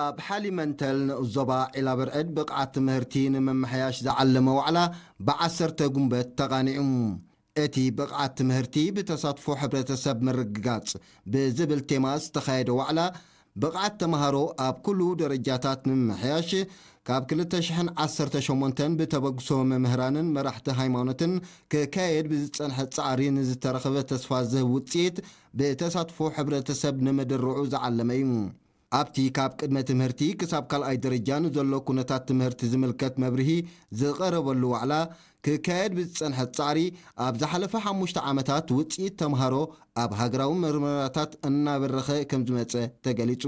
ኣብ ሓሊመንተል ንኡስ ዞባ ዒላበርዕድ ብቕዓት ትምህርቲ ንምምሕያሽ ዝዓለመ ዋዕላ ብዓሰርተ ጉንበት ተቓኒዑ። እቲ ብቕዓት ትምህርቲ ብተሳትፎ ሕብረተሰብ ምርግጋጽ ብዝብል ቴማ ዝተኻየደ ዋዕላ፣ ብቕዓት ተምሃሮ ኣብ ኩሉ ደረጃታት ንምምሕያሽ፣ ካብ ክልተ ሽሕን ዓሰርተ ሸሞንተን ብተበግሶ መምህራንን መራሕቲ ሃይማኖትን ክካየድ ብዝጸንሐ ጻዕሪ ንዝተረኸበ ተስፋ ዝህብ ውጽኢት ብተሳትፎ ሕብረተሰብ ንምድርዑ ዝዓለመ እዩ። ኣብቲ ካብ ቅድመ ትምህርቲ ክሳብ ካልኣይ ደረጃ ንዘሎ ኩነታት ትምህርቲ ዝምልከት መብርሂ ዝቐረበሉ ዋዕላ፣ ክካየድ ብዝጸንሐ ጻዕሪ፣ ኣብ ዝሓለፈ ሓሙሽተ ዓመታት ውጽኢት ተምሃሮ ኣብ ሃገራዊ መርመራታት እናበረኸ ከም ዝመጸ ተገሊጹ።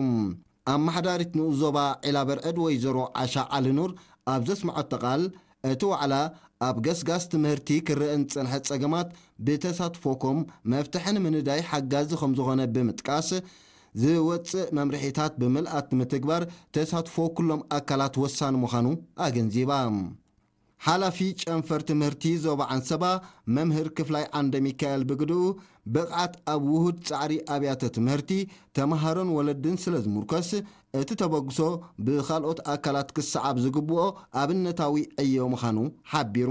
ኣመሓዳሪት ንኡስ ዞባ ዒላበርዕድ ወይዘሮ ዓሻ ዓሊኑር ኣብ ዘስምዐቶ ቃል፣ እቲ ዋዕላ ኣብ ገስጋስ ትምህርቲ ክረአ ንዝጸንሐ ጸገማት ብተሳትፎኩም መፍትሒ ንምንዳይ ሓጋዚ ከም ዝኾነ ብምጥቃስ፣ ዝወጽእ መምርሒታት ብምልኣት ንምትግባር ተሳትፎ ኩሎም ኣካላት ወሳኒ ምዃኑ ኣገንዚባ። ሓላፊ ጨንፈር ትምህርቲ ዞባ ዓንሰባ መምህር ክፍላይ ዓንደ ሚካኤል ብግድኡ፣ ብቕዓት ኣብ ውሁድ ጻዕሪ ኣብያተ ትምህርቲ፣ ተምሃሮን ወለድን ስለ ዝምርኮስ፣ እቲ ተበግሶ ብኻልኦት ኣካላት ክሰዓብ ዝግብኦ ኣብነታዊ ዕዮ ምዃኑ ሓቢሩ።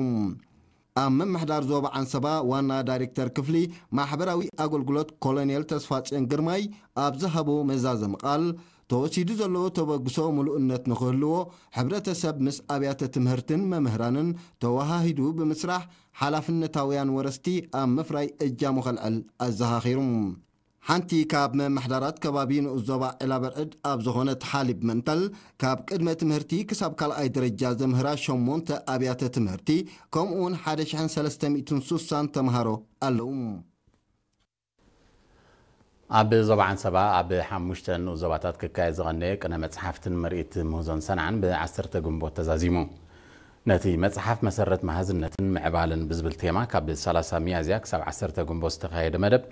ኣብ ምምሕዳር ዞባ ዓንሰባ ዋና ዳይሬክተር ክፍሊ ማሕበራዊ ኣገልግሎት ኮሎኔል ተስፋጽዮን ግርማይ ኣብ ዝሃቦ መዛዘሚ ቃል፣ ተወሲዱ ዘሎ ተበግሶ ምሉእነት ንኽህልዎ፣ ሕብረተሰብ ምስ ኣብያተ ትምህርትን መምህራንን ተወሃሂዱ ብምስራሕ፣ ሓላፍነታውያን ወረስቲ ኣብ ምፍራይ እጃሙ ከልዕል ኣዘኻኺሩ። ሓንቲ ካብ መምሕዳራት ከባቢ ንኡስ ዞባ ዒላበርዕድ ኣብ ዝኾነት ሓሊብ መንተል፣ ካብ ቅድመ ትምህርቲ ክሳብ ካልኣይ ደረጃ ዘምህራ ሸሞንተ ኣብያተ ትምህርቲ፣ ከምኡ እውን ሓደ ሽሕን ሰለስተ ሚእትን ሱሳን ተምሃሮ ኣለዉ። ኣብ ዞባ ዓንሰባ ኣብ ሓሙሽተ ንኡስ ዞባታት ክካየድ ዝቐነየ ቅነ መጽሓፍትን ምርኢት ምህዞን ሰንዓን ብዓሰርተ ግንቦት ተዛዚሙ። ነቲ መጽሓፍ መሰረት መሃዝነትን ምዕባለን ብዝብል ቴማ፣ ካብ ሰላሳ ሚያዝያ ክሳብ ዓሰርተ ግንቦት ዝተኻየደ መደብ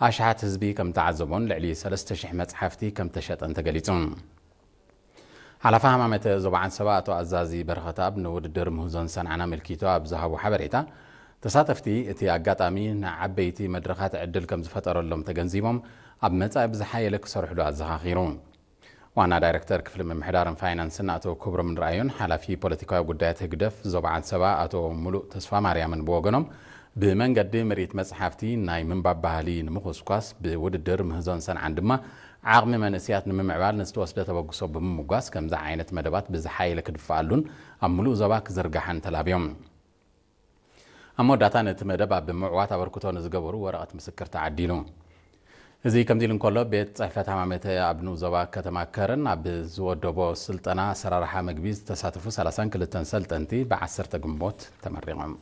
ኣሽሓት ህዝቢ ከም ተዓዘቦን ልዕሊ ሰለስተ ሽሕ መጽሓፍቲ ከም ተሸጠን ተገሊጹ። ሓላፊ ሃማመተ ዞባ ዓንሰባ ኣቶ ኣዛዚ በረኸትኣብ፣ ንውድድር ምህዞን ሰንዓን ኣመልኪቱ ኣብ ዝሃቦ ሓበሬታ፣ ተሳተፍቲ እቲ ኣጋጣሚ ንዓበይቲ መድረኻት ዕድል ከም ዝፈጠረሎም ተገንዚቦም፣ ኣብ መጻኢ ብዝሓየለ ክሰርሕሉ ኣዘኻኺሩ። ዋና ዳይሬክተር ክፍሊ ምምሕዳርን ፋይናንስን ኣቶ ክብሮም ንርኣዮን ሓላፊ ፖለቲካዊ ጉዳያት ህግደፍ ዞባ ዓንሰባ ኣቶ ሙሉእ ተስፋማርያምን ብወገኖም፣ ብመንገዲ ምርኢት መጽሓፍቲ ናይ ምንባብ ባህሊ ንምኹስኳስ፣ ብውድድር ምህዞን ሰንዓን ድማ ዓቕሚ መንእሰያት ንምምዕባል ንዝተወስደ ተበግሶ ብምምጓስ፣ ከምዚ ዓይነት መደባት ብዝሓየለ ክድፍኣሉን ኣብ ምሉእ ዞባ ክዝርጋሕን ተላብዮም። ኣብ መወዳእታ ነቲ መደብ ኣብ ምዕዋት ኣበርክቶ ንዝገበሩ ወረቐት ምስክር ተዓዲሉ። እዚ ከምዚ ኢሉ እንከሎ፣ ቤት ጽሕፈት ሃማመተ ኣብ ንኡስ ዞባ ከተማ ከረን ኣብ ዝወደቦ ስልጠና ኣሰራርሓ መግቢ ዝተሳተፉ ሰላሳን ክልተን ሰልጠንቲ ብዓሰርተ ግንቦት ተመሪቖም።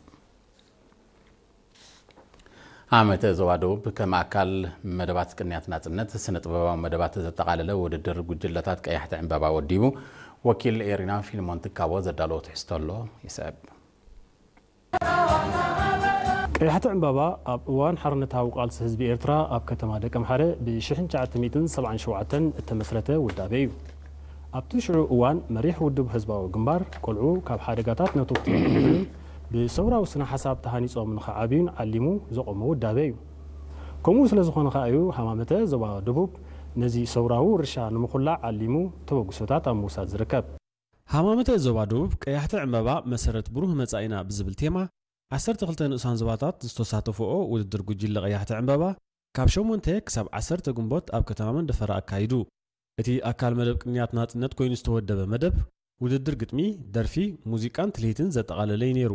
ሃማመተ ዞባ ደቡብ ከም ኣካል መደባት ቅንያት ናጽነት ስነ ጥበባዊ መደባት ዘጠቓለለ ውድድር ጉጅለታት ቀያሕቲ ዕምባባ ወዲቡ። ወኪል ኤሪና ፊልሞን ትካቦ ዘዳለዎ ትሕዝቶ ኣሎ፣ ይስዕብ። ቀያሕቲ ዕምባባ ኣብ እዋን ሓርነታዊ ቃልሲ ህዝቢ ኤርትራ ኣብ ከተማ ደቀምሓረ ብ ሽሕን ትሽዓተ ሚእትን ሰብዓን ሸውዓተን እተመስረተ ውዳበ እዩ። ኣብቲ ሽዑ እዋን መሪሕ ውድብ ህዝባዊ ግንባር፣ ቆልዑ ካብ ሓደጋታት ነተውቲ ንኽድሕኑን ብሰውራዊ ስነ ሓሳብ ተሃኒጾም ንኽዓብዩን ዓሊሙ ዘቖመ ውዳበ እዩ። ከምኡ ስለ ዝኾነ ከኣ እዩ ሃማመተ ዞባ ደቡብ ነዚ ሰውራዊ ውርሻ ንምኹላዕ ዓሊሙ ተበግሶታት ኣብ ምውሳድ ዝርከብ። ሃማመተ ዞባ ደቡብ ቀያሕቲ ዕምባባ መሰረት ብሩህ መጻኢና ብዝብል ቴማ፣ ዓሰርተ ክልተ ንኡሳን ዞባታት ዝተሳተፍኦ ውድድር ጉጅለ ቀያሕቲ ዕምባባ፣ ካብ ሸሞንተ ክሳብ ዓሰርተ ግንቦት ኣብ ከተማ መንደፈራ ኣካይዱ። እቲ ኣካል መደብ ቅንያት ናጽነት ኮይኑ ዝተወደበ መደብ፣ ውድድር ግጥሚ፣ ደርፊ፣ ሙዚቃን ትልሂትን ዘጠቓለለ እዩ ነይሩ።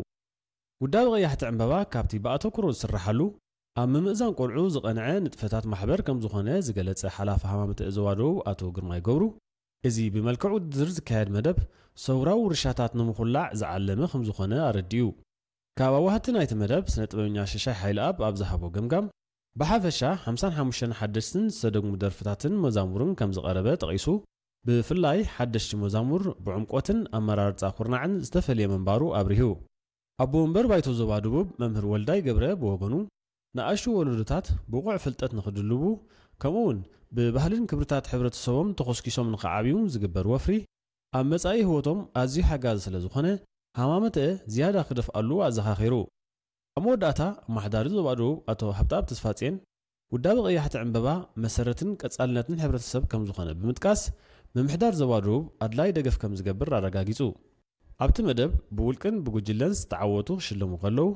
ውዳበ ቀያሕቲ ዕምባባ ካብቲ ብኣተኩሮ ዝስርሓሉ፣ ኣብ ምምእዛን ቆልዑ ዝቐንዐ ንጥፈታት ማሕበር ከም ዝኾነ ዝገለጸ ሓላፊ ሃማመተ ዞባ ደቡብ ኣቶ ግርማይ ገብሩ፣ እዚ ብመልክዕ ውድድር ዝካየድ መደብ፣ ሰውራዊ ውርሻታት ንምኹላዕ ዝዓለመ ከም ዝኾነ ኣረዲኡ። ካብ ኣዋህቲ ናይቲ መደብ ስነ ጥበበኛ ሽሻይ ሓይለኣብ ኣብ ዝሃቦ ገምጋም፣ ብሓፈሻ ሓምሳን ሓሙሽተን ሓደሽትን ዝተደግሙ ደርፍታትን መዛሙርን ከም ዝቐረበ ጠቒሱ፣ ብፍላይ ሓደሽቲ መዛሙር ብዕምቆትን ኣመራርጻ ኩርናዕን ዝተፈልየ ምንባሩ ኣብሪሁ። ኣቦ ወንበር ባይቶ ዞባ ደቡብ መምህር ወልዳይ ገብረ ብወገኑ፣ ንኣሽቱ ወለዶታት ብቑዕ ፍልጠት ንኽድልቡ፣ ከምኡ'ውን ብባህልን ክብርታት ሕብረተሰቦም ተኾስኪሶም ንኽዓብዩ ዝግበር ወፍሪ፣ ኣብ መጻኢ ህይወቶም ኣዝዩ ሓጋዚ ስለ ዝኾነ፣ ሃማመተ ዝያዳ ክደፍኣሉ ኣዘኻኺሩ። ኣብ መወዳእታ፣ ኣመሓዳሪ ዞባ ደቡብ ኣቶ ሃብተኣብ ተስፋጽዮን፣ ውዳበ ቀያሕቲ ዕምበባ መሰረትን ቀጻልነትን ሕብረተሰብ ከም ዝኾነ ብምጥቃስ፣ ምምሕዳር ዞባ ደቡብ ኣድላይ ደገፍ ከም ዝገብር ኣረጋጊጹ። ኣብቲ መደብ ብውልቅን ብጉጅለን ዝተዓወቱ ክሽለሙ ከለዉ፣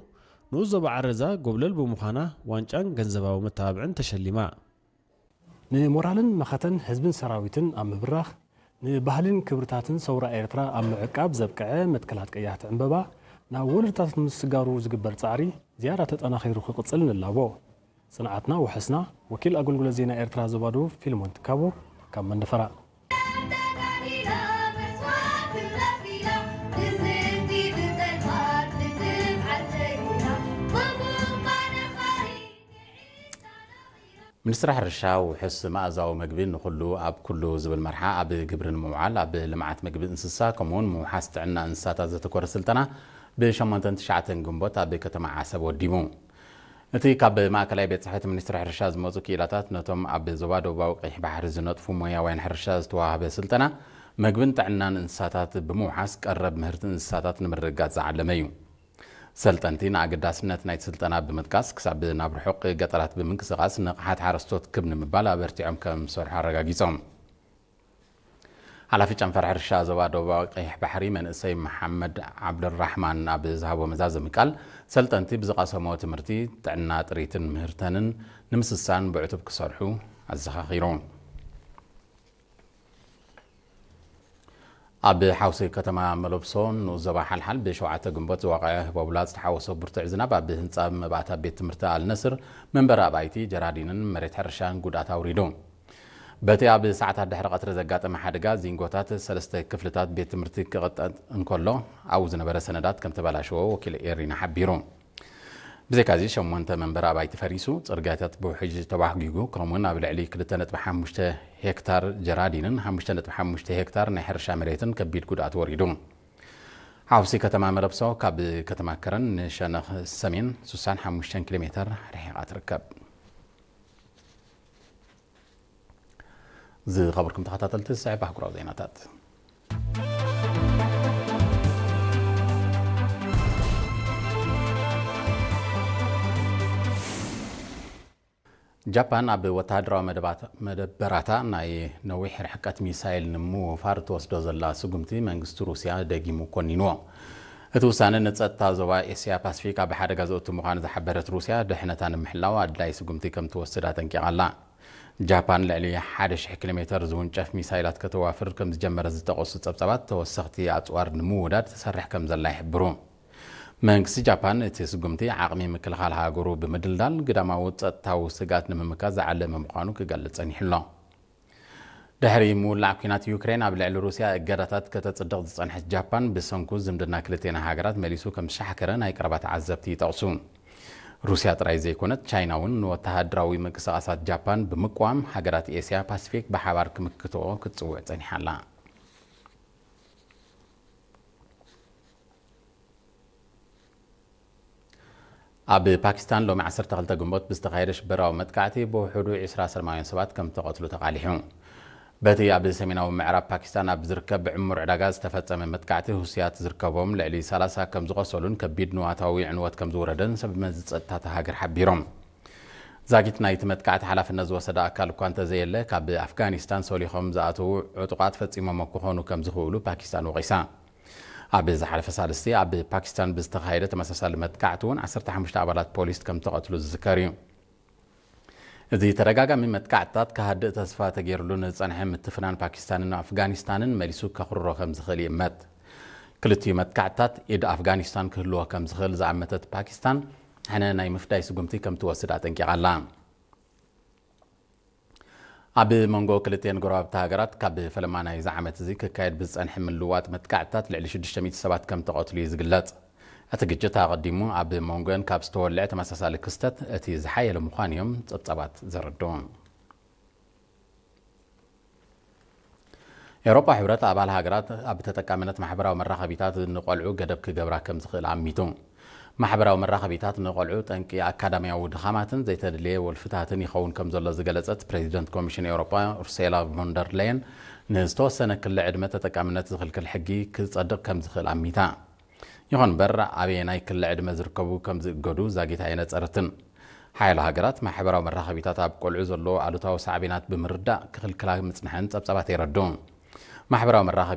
ንኡስ ዞባ ዓረዛ ጎብለል ብምዃና ዋንጫን ገንዘባዊ መተባብዕን ተሸሊማ። ንሞራልን መኸተን ህዝብን ሰራዊትን ኣብ ምብራኽ፣ ንባህልን ክብርታትን ሰውራ ኤርትራ ኣብ ምዕቃብ ዘብቅዐ መትከላት ቀያሕቲ ዕምበባ ናብ ወለዶታት ንምስጋሩ ዝግበር ጻዕሪ ዝያዳ ተጠናኺሩ ክቕጽል ንላቦ። ጽንዓትና ውሕስና። ወኪል ኣገልግሎት ዜና ኤርትራ ዞባ ደቡብ ፊልሞን ትካቦ ካብ መንደፈራ። ሚኒስትሪ ሕርሻ ውሑስ መኣዛዊ መግቢ ንኹሉ ኣብ ኩሉ ዝብል መርሓ ኣብ ግብሪ ንምውዓል ኣብ ልምዓት መግቢ እንስሳ ከምኡውን ምውሓስ ጥዕና እንስሳታት ዘተኮረ ስልጠና ብ ሸሞንተን ትሽዓተን ግንቦት ኣብ ከተማ ዓሰብ ወዲቡ። እቲ ካብ ማእከላይ ቤት ጽሕፈት ሚኒስትሪ ሕርሻ ዝመጹ ክኢላታት ነቶም ኣብ ዞባ ደቡባዊ ቀይሕ ባሕሪ ዝነጥፉ ሞያውያን ሕርሻ ዝተዋህበ ስልጠና መግብን ጥዕናን እንስሳታት ብምውሓስ ቀረብ ምህርቲ እንስሳታት ንምርግጋጽ ዝዓለመ እዩ። ሰልጠንቲ ንኣገዳስነት ናይቲ ስልጠና ብምጥቃስ ክሳብ ናብ ርሑቕ ገጠራት ብምንቅስቓስ ንቕሓት ሓረስቶት ክብ ንምባል ኣበርቲዖም ከም ዝሰርሑ ኣረጋጊጾም። ሓላፊ ጨንፈር ሕርሻ ዞባ ደቡባዊ ቀይሕ ባሕሪ መንእሰይ መሓመድ ዓብደራሕማን ኣብ ዝሃቦ መዛዘሚ ቃል፣ ሰልጠንቲ ብዝቐሰሞ ትምህርቲ ጥዕና ጥሪትን ምህርተንን ንምስሳን ብዕቱብ ክሰርሑ ኣዘኻኺሩ። ኣብ ሓውሲ ከተማ መለብሶ ንኡስ ዞባ ሓልሓል ብሸውዓተ ግንቦት ዝወቐዐ ህቦብላ ዝተሓወሶ ብርቱዕ ዝናብ ኣብ ህንጻ መባእታ ቤት ትምህርቲ ኣልነስር መንበሪ ኣባይቲ ጀራዲንን መሬት ሕርሻን ጉድኣት ኣውሪዱ። በቲ ኣብ ሰዓታት ድሕሪ ቀትሪ ዘጋጠመ ሓደጋ ዚንጎታት ሰለስተ ክፍልታት ቤት ትምህርቲ ክቕጠጥ እንከሎ ኣብኡ ዝነበረ ሰነዳት ከም ተበላሸዎ ወኪል ኤሪና ሓቢሩ። ብዘይካዚ ሸሞንተ መንበሪ ኣባይቲ ፈሪሱ፣ ጽርግያታት ብውሕጅ ተባህጊጉ፣ ከምኡውን ኣብ ልዕሊ ክልተ ነጥቢ ሓሙሽተ ሄክታር ጀራዲንን ሓሙሽተ ነጥቢ ሓሙሽተ ሄክታር ናይ ሕርሻ መሬትን ከቢድ ጉድኣት ወሪዱ። ሓውሲ ከተማ መለብሶ ካብ ከተማ ከረን ንሸነኽ ሰሜን ስሳን ሓሙሽተን ኪሎ ሜተር ርሒቓ ትርከብ። ዝኸበርኩም ተኸታተልቲ፣ ዝስዕብ ኣህጉራዊ ዜናታት። ጃፓን ኣብ ወተሃደራዊ መደባታ-፣ መደበራታ ናይ ነዊሕ ርሕቀት ሚሳይል ንምውፋር እትወስዶ ዘላ ስጉምቲ መንግስቲ ሩስያ ደጊሙ ኮኒንዎ። እቲ ውሳነ ንጸጥታ ዞባ ኤስያ ፓሲፊክ ኣብ ሓደጋ ዘእቱ ምዃኑ ዝሓበረት ሩስያ፣ ድሕነታ ንምሕላው ኣድላይ ስጉምቲ ከም ትወስድ ኣጠንቂቓ ኣላ። ጃፓን ልዕሊ ሓደ ሽሕ ኪሎ ሜተር ዝውንጨፍ ሚሳይላት ከተዋፍር ከም ዝጀመረት ዝጠቐሱ ጸብጻባት፣ ተወሰኽቲ ኣጽዋር ንምውዳድ ትሰርሕ ከም ዘላ ይሕብሩ። መንግስቲ ጃፓን እቲ ስጉምቲ ዓቕሚ ምክልኻል ሃገሩ ብምድልዳል ግዳማዊ ጸጥታዊ ስግኣት ንምምካት ዝዓለመ ምዃኑ ክገልጽ ጸኒሑ ኣሎ። ድሕሪ ምውላዕ ኲናት ዩክሬን ኣብ ልዕሊ ሩስያ እገዳታት ከተጽድቕ ዝጸንሐት ጃፓን፣ ብሰንኩ ዝምድና ክልቴና ሃገራት መሊሱ ከም ዝሻሕከረ ናይ ቀረባ ተዓዘብቲ ይጠቕሱ። ሩስያ ጥራይ ዘይኮነት፣ ቻይና እውን ንወተሃደራዊ ምንቅስቓሳት ጃፓን ብምቅዋም፣ ሃገራት ኤስያ ፓሲፊክ ብሓባር ክምክትኦ ክትጽውዕ ጸኒሓ ኣላ። ኣብ ፓኪስታን ሎሚ ዓሰርተ ክልተ ግንቦት ብዝተኻየደ ሽበራዊ መጥቃዕቲ ብውሑዱ ዕስራ ሰላማውያን ሰባት ከም ተቐትሉ ተቓሊሑ። በቲ ኣብ ሰሜናዊ ምዕራብ ፓኪስታን ኣብ ዝርከብ ዕሙር ዕዳጋ ዝተፈጸመ መጥቃዕቲ፣ ሁሲያት ዝርከቦም ልዕሊ ሰላሳ ከም ዝቖሰሉን ከቢድ ንዋታዊ ዕንወት ከም ዝወረደን ሰብ መዚ ጸጥታ እታ ሃገር ሓቢሮም። ዛጊት ናይቲ መጥቃዕቲ ሓላፍነት ዝወሰደ ኣካል እኳ እንተዘየለ፣ ካብ ኣፍጋኒስታን ሰሊኾም ዝኣተዉ ዕጡቓት ፈጺሞሞ ክኾኑ ከም ዝኽእሉ ፓኪስታን ወቒሳ። ኣብ ዝሓለፈ ሳልስቲ ኣብ ፓኪስታን ብዝተኻየደ ተመሳሳሊ መጥቃዕቲ እውን ዓሰርተ ሓሙሽተ ኣባላት ፖሊስ ከም ተቐትሉ ዝዝከር እዩ። እዚ ተደጋጋሚ መጥቃዕትታት ክሃድእ ተስፋ ተገይርሉ ንዝጸንሐ ምትፍናን ፓኪስታንን ኣፍጋኒስታንን መሊሱ ከኹርሮ ከም ዝኽእል ይእመት። ክልቲኡ መጥቃዕትታት ኢድ ኣፍጋኒስታን ክህልዎ ከም ዝኽእል ዝኣመተት ፓኪስታን፣ ሕነ ናይ ምፍዳይ ስጉምቲ ከም ትወስድ ኣጠንቂቓ ኣላ። ኣብ መንጎ ክልቲኤን ጎረባብቲ ሃገራት ካብ ፈለማ ናይዚ ዓመት እዚ ክካየድ ብዝጸንሐ ምልውዋጥ መጥቃዕትታት ልዕሊ ሽዱሽተ ሚእቲ ሰባት ከም ተቐትሉ እዩ ዝግለጽ። እቲ ግጭት ኣቐዲሙ ኣብ መንጎን ካብ ዝተወልዐ ተመሳሳሊ ክስተት እቲ ዝሓየለ ምዃኑ እዮም ጸብጻባት ዘረድኡ። ኤውሮጳ ሕብረት ኣባል ሃገራት ኣብ ተጠቃምነት ማሕበራዊ መራኸቢታት ንቖልዑ ገደብ ክገብራ ከም ዝኽእል ኣሚቱ። ማሕበራዊ መራኸቢታት ንቖልዑ ጠንቂ ኣካዳሚያዊ ድኻማትን ዘይተደልየ ወልፍታትን ይኸውን ከም ዘሎ ዝገለጸት ፕሬዚደንት ኮሚሽን ኤውሮጳ ኡርሴላ ቮንደር ሌየን፣ ንዝተወሰነ ክሊ ዕድመ ተጠቃምነት ዝኽልክል ሕጊ ክጸድቕ ከም ዝኽእል ኣሚታ። ይኹን እምበር፣ ኣበየናይ ክሊ ዕድመ ዝርከቡ ከም ዝእገዱ ዛጊት ኣየነጸረትን። ሓያሎ ሃገራት ማሕበራዊ መራኸቢታት ኣብ ቆልዑ ዘለዎ ኣሉታዊ ሳዕቤናት ብምርዳእ ክኽልክላ ምጽንሐን ጸብጻባት የረድኡ። ማሕበራዊ መራኸቢ